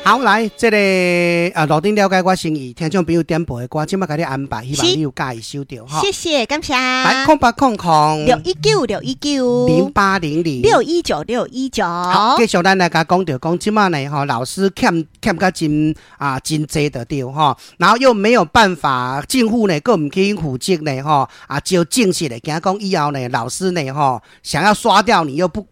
好，來，這個啊，路頂了解我心意，聽眾朋友點播的歌，這擺共你安排，希望你有佮意收著吼。謝謝，感謝。來，0800 619 619 0800 619 619。好，繼續咱來共講著講，這擺呢吼，老師欠欠甲真啊真濟就對吼，然後又沒有辦法，政府呢閣毋去負責呢吼，啊招正式的，驚講以後呢老師呢吼，想要刷掉你又不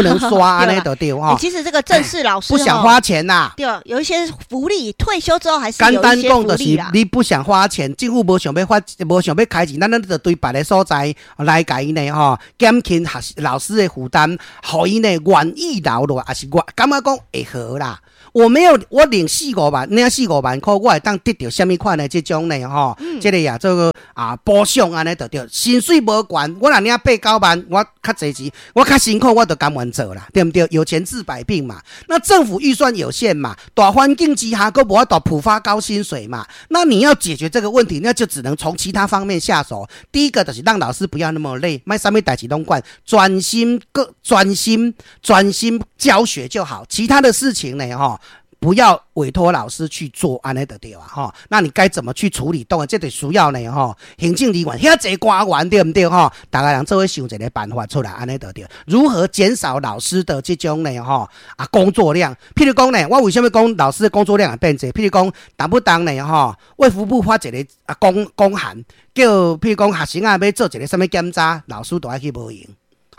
能刷按呢就對吼。其實這個正式老師不想花錢吶。對，有一些福利，退休之後還是簡單講就是你不想花錢，政府無想欲花，無想欲開錢，咱咱就對別个所在來共伊呢吼，減輕學老師的負擔，予伊呢願意留落來，抑是我感覺講會好啦。我沒有，我領四五萬，領四五萬箍，我會當得著啥物款的這種呢吼？這個呀，這個啊補償按呢就對，薪水無懸，我若領八九萬，我較濟錢，我較辛苦，我就甘願做啦，對毋對？有錢治百病嘛。那政府預算有限嘛，大環境之下，閣無法度普發高薪水嘛。那你要解決這個問題，那就只能從其他方面下手。第一個就是讓老師不要那麼累，莫啥物代誌攏管，專心個專心專心教學就好，其他的事情呢，吼，不要委託老師去做，按呢就對啊，吼。那你該怎麼去處理？當然這就需要呢，吼，行政人員遐濟官員對毋對？吼，逐家人做伙想一個辦法出來，按呢就對。如何減少老師的這種呢？吼啊工作量？譬如講呢，我為啥物講老師的工作量會變濟？譬如講，動不動呢，吼，衛福部發一個啊公函，叫譬如講學生啊欲做一個啥物檢查，老師都愛去無閒。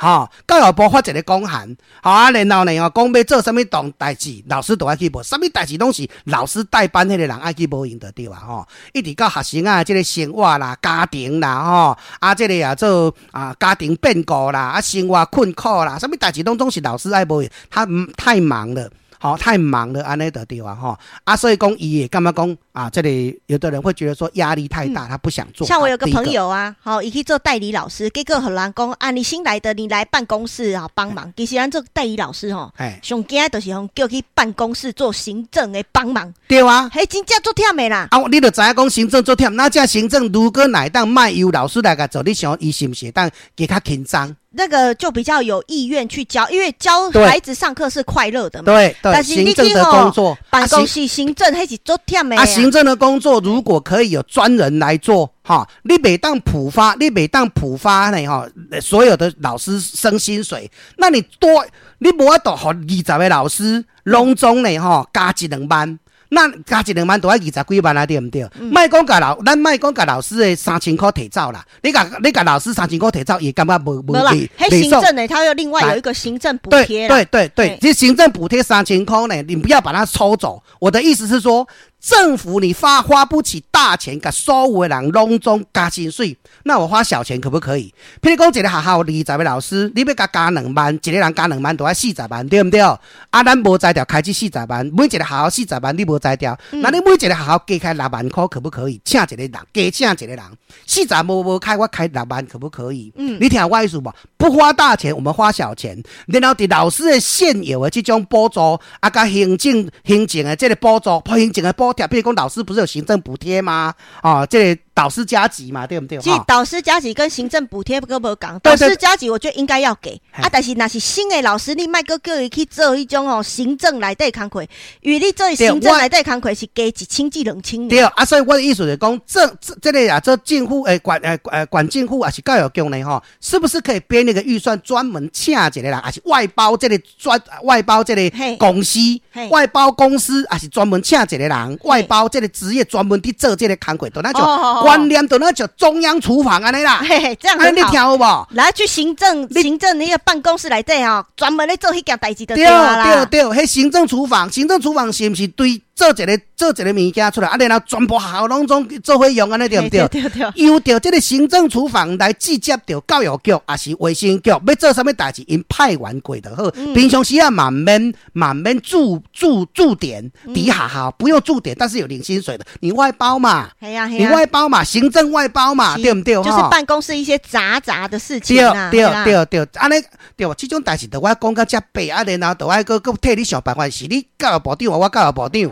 吼，教育部發一個公函，吼啊，然後呢，吼講欲做啥物重代誌，老師都愛去無，啥物代誌攏是老師帶班彼個人愛去無閒就對啊，吼，一直到學生仔這個生活啦、家庭啦，吼，啊，這個啊做啊家庭變故啦、啊生活困苦啦，啥物代誌攏總是老師愛無閒，他太忙了。吼，太忙了，按呢就對啊，吼啊，所以講伊會感覺講啊，這裡有的人會覺得說壓力太大，他不想做。像我有個朋友啊，吼，伊去做代理老師，結果予人講啊，你新來的，你來辦公室啊幫忙。其實咱做代理老師吼，上驚就是予人叫去辦公室做行政的幫忙。對啊，彼真正足忝的啦。啊，你就知影講行政足忝，那這行政如果若會當莫由老師來共做，你想伊是毋是會當加較輕鬆？那個就比較有意願去教，因為教孩子上課是快樂的嘛。對對，但是行政的工作，辦公室行政彼是足忝的。啊，行政的工作如果可以有專人來做，哈，你袂當普發，你袂當普發呢，哈，所有的老師升薪水，那你多，你無法度予20個老師攏總呢，吼，加一兩萬。那加一兩萬都愛20幾萬啊，對毋對？莫講共老，咱莫講共老師的3000箍提走啦。你共老師三千箍提走，伊感覺無無啦。彼行政呢，他又另外有一個行政補貼。對對對，這行政補貼三千箍呢，你不要把它抽走。我的意思是說，政府你花不起大錢，共所有的人攏總加薪水，那我花小錢可不可以？譬如講，一個學校二十個老師，你欲共加兩萬，一個人加兩萬，都愛四十萬，對毋對？啊，咱無才調開支四十萬，每一個學校四十萬，你無才調，那你每一個學校加開6萬箍可不可以？請一個人，加請一個人，四十無開，我開六萬可不可以？你聽我意思無？不花大錢，我們花小錢，然後佇老師的現有的這種補助，啊，佮行政的這個補助，行政的補貼，譬如講老師不是有行政補貼嗎？啊，這個導師加給嘛，對毋對？其實導師加給跟行政補貼閣無仝，導師加給我覺得應該要給啊，但是若是新的老師，你莫閣叫伊去做彼種吼行政內底工課，因為你做行政內底工課是加1000至2000。對啊，所以我的意思就是講，這個啊，這政府誒管誒誒管政府抑是教育局呢吼，是不是可以編那個預算專門請一個人，抑是外包這個專外包這個公司，外包公司，抑是專門請一個人外包這個職業專門佇做這個工課，就那種觀念，就那種中央廚房按呢啦。嘿嘿，這樣很好。你聽有無？來去行政那個辦公室內底吼，專門咧做彼件代誌就對對對，彼行政廚房，行政廚房是毋是對做一個物件出來，啊，然後全部學校攏總做伙用，按呢對毋對？對對。由著這個行政廚房來直接著教育局，抑是衛生局，欲做啥物代誌，𪜶派員過就好。平常時啊，嘛毋免駐點佇學校，不用駐點，但是有領薪水的，你外包嘛？你外包嘛，行政外包嘛，對毋對？就是辦公室一些雜雜的事情啊。對對對對，按呢對，這種代誌，著我講甲遮白，啊，然後著愛閣閣替你想辦法，是你教育部長，我教育部長。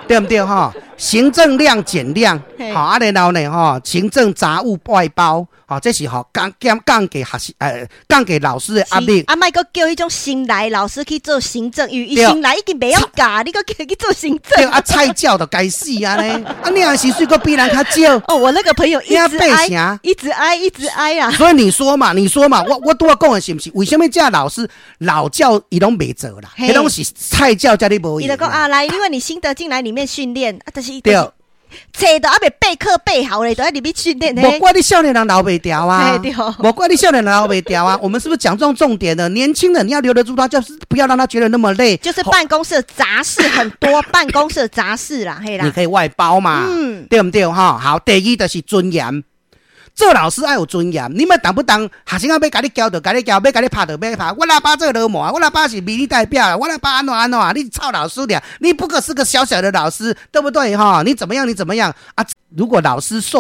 對毋對？吼，行政量減量，好啊，然後呢，吼，行政雜務外包，吼，這是吼降減降給學生，降給老師的壓力。啊，莫閣叫彼種新來老師去做行政，因為伊新來已經袂曉教，你閣叫伊去做行政。對啊，菜鳥就該死啊呢，啊，你的薪水閣比人較少。哦，我那個朋友一直哀，一直哀，一直哀啊。所以你說嘛，你說嘛，我拄仔講的是毋是？為啥物這老師老教伊攏袂做啦？彼攏是菜鳥才咧無。伊就講啊，來，因為你新的進來裡面訓練啊，但是對。冊都猶未備課備好咧，都愛入去訓練。無怪你少年人留袂牢啊！無怪你少年人留袂牢啊！我們是不是講中重點了？年輕人你要留得住他，就是不要讓他覺得那麼累。就是辦公室雜事很多，辦公室雜事啦，嘿啦。你可以外包嘛，對毋對？哈，好，第二就是尊嚴。做老師愛有尊嚴，你們動不動學生仔欲共你教就共你教，欲共你拍就欲拍。我老爸做流氓，我老爸是民意代表，我老爸按怎按怎，你臭老師倆，你不過是個小小的老師，對不對？哈，你怎麼樣？你怎麼樣啊？如果老師受